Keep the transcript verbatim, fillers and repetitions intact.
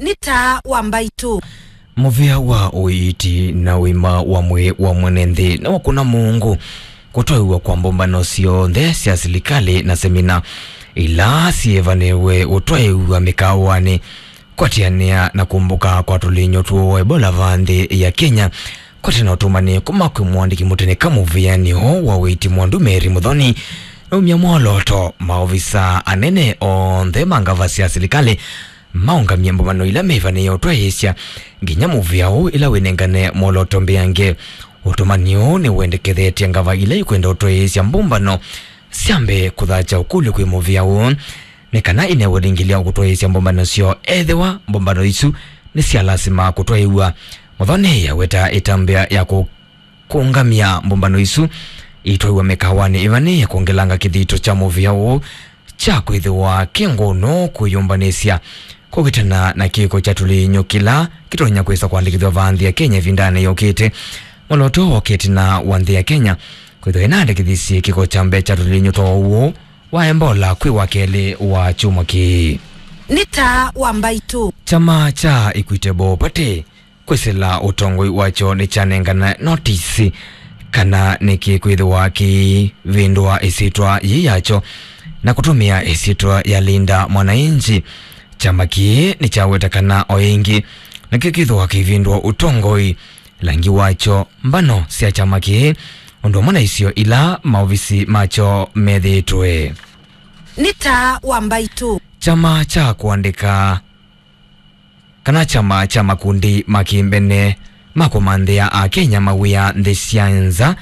Nĩ taa wa mbaitũ. Mũvĩa wa ũiiti na ũima wa mwĩĩ wa mwene nthĩ nĩwakũna mũungu kũtwaĩw'a kwa mbũmbano syonthe sya silikalĩ na semina ila syĩvanĩwe ũtwaĩw'a mĩkaawanĩ, kwatĩanĩa na kũmbũka kwa tũlinyũ twũ wa Ebola va nthĩ ya Kenya, kwatĩ na ũtũmani kuma kwĩ mũandĩki mũtene ka mũvĩanĩ ũũ wa ũiiti Mwandu Mary Muthoni, naumya mwolooto maovisa anene onthe ma ngava sya silikalĩ maũngamye mbũmbano ila meĩvanĩĩe ũtwaĩĩsya nginya mũvĩa ũũ ĩla wĩnengane mwolooto mbeange. Ũtũmani ũũ nĩwendekethetye ngava ila ikwenda ũtwaĩĩsya mbũmbano syambe kũthakya ũkũlyo kwĩ mũvĩa ũũ nĩ kana inewe lingĩlya kũtwaĩĩsya mbũmbano syoo ethĩwa mbũmbano isu nĩ sya lasima kũtwaĩw'a. Muthoni aweta ĩtambya ya kũ kũũngamya mbũmbano isu itwaiwa mĩkawanĩ ĩvanĩĩe kwongelanga kĩthito kya mũvĩa ũũ kya kwĩthĩwa kĩ ngũnũ kwĩyũmbanĩsya kũkitana na kĩko kya tũlinyũ kĩla kĩtonya kwĩsa kũandĩkĩthw'a va nthĩ ya Kenya ĩvindanĩ yũkĩte. Mwolooto wokĩte na wa nthĩ ya Kenya kwĩthĩwa ĩnaandĩkĩthisye kĩko kya mbee kya tũlinyũ twa ũwau wa Ebola kwĩ wa kelĩ wa kyumwa kĩĩ. Nĩ taa wa mbaitũ. Kyama kya Equitable Party kwĩsĩla ũtongoi wakyo nĩkyanengana notisi kana nĩkĩkwĩthĩwa kĩivĩndũa ĩsyĩtwa yĩĩ yakyo na kũtũmĩa ĩsyĩtwa ya Linda Mwananchi. Kyama kĩĩ nĩkyaweta kana o ĩngĩ nĩkĩkwĩthĩwa kĩivĩndũa ũtongoi, langi wakyo, mbano sya kyama kĩĩ, ũndũ ũmwe na isio ila maovisi makyo methĩĩtwe. Nĩ taa wa mbaitũ. Kyama kya kũandĩka kana kyama kya makundi ma kĩmbene ma kũmanthĩa Akenya mawĩa nthĩ sya nza